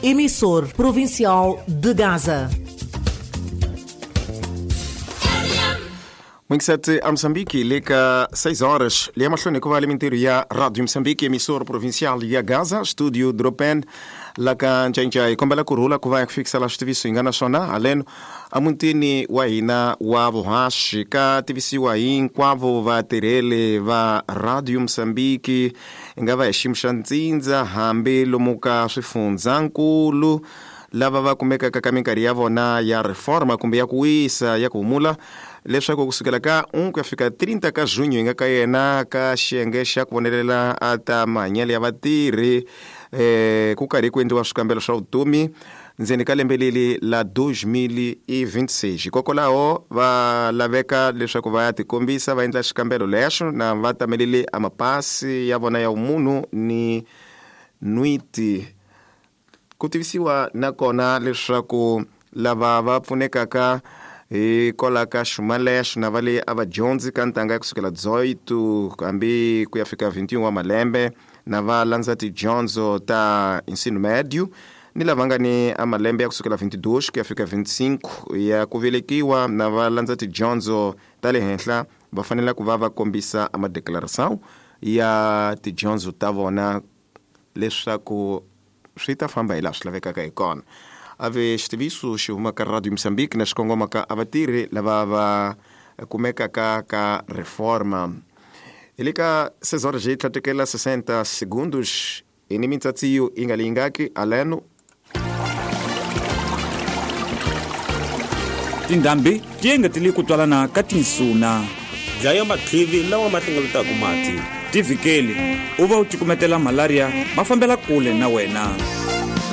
Emissor provincial de Gaza. 27 a Moçambique, le ka 6 horas. Le mahlweni ku va le mintirho ya Radio Moçambique, emissor provincial ya Gaza, studio Dropen la ka Ncancai. Hi kombela ku rhula ku va ya ku fikisa la switiviso hi nga na swona haleno emutini wa hina wa vuhaxi. Ka tivisiwa hinkwavo vatirheli va Radio Moçambique, hi nga va hi xiyimo xa ntsindza hambi lomu ka swifundzhankulu lava va kumekaka ka minkarhi ya vona ya reforma kumbe ya ku wisa ya ku humula, leswaku kusukela ka 1 ku ya fika 30 ka junho hi nga ka yena ka xiyenge xa ku vonelela a ta mahanyelo ya vatirhi, ku karhi ku endliwa swikambelo swa vutomi ndzeni ka lembe leri la 2026. Hikokwalaho va laveka leswaku va ya tikombisa va endla xikambelo lexo na va tamelele a mapasi ya vona ya vumunhu ni nwiti. Ku tivisiwa nakona leswaku lava va pfunekaka hi kola ka xuma lexo na va le a va dyondzi ka ntanga ya kusukela 18 hambi ku ya fika 21 wa malembe, na va landza tidyondzo ta ensino médio, ni lava nga ni a malembe ya kusukela 22 ku ya fika 25 ya ku velekiwa, na va landza tidyondzo ta le henhla, va fanele ku va va kombisa a madeclaração ya tidyondzo ta vona leswaku swi ta famba hi laha swi lavekaka hi kona. A ve xitiviso xi huma ka Radio Moçambique na xikongoma ka a vatirhi lava va kumekaka ka reforma. Hi le ka 6 horas hi tlhatekela 60 segundos hi ni mintsatsiyo yi nga leyingaki aleno. Tindhambi ti engetele ku twalana ka tinsuna. Dlaya matlivi lawa ma hlengeletaka mati. Ti vhikeli u va u cukumetela malaria ma fambela kule na wena.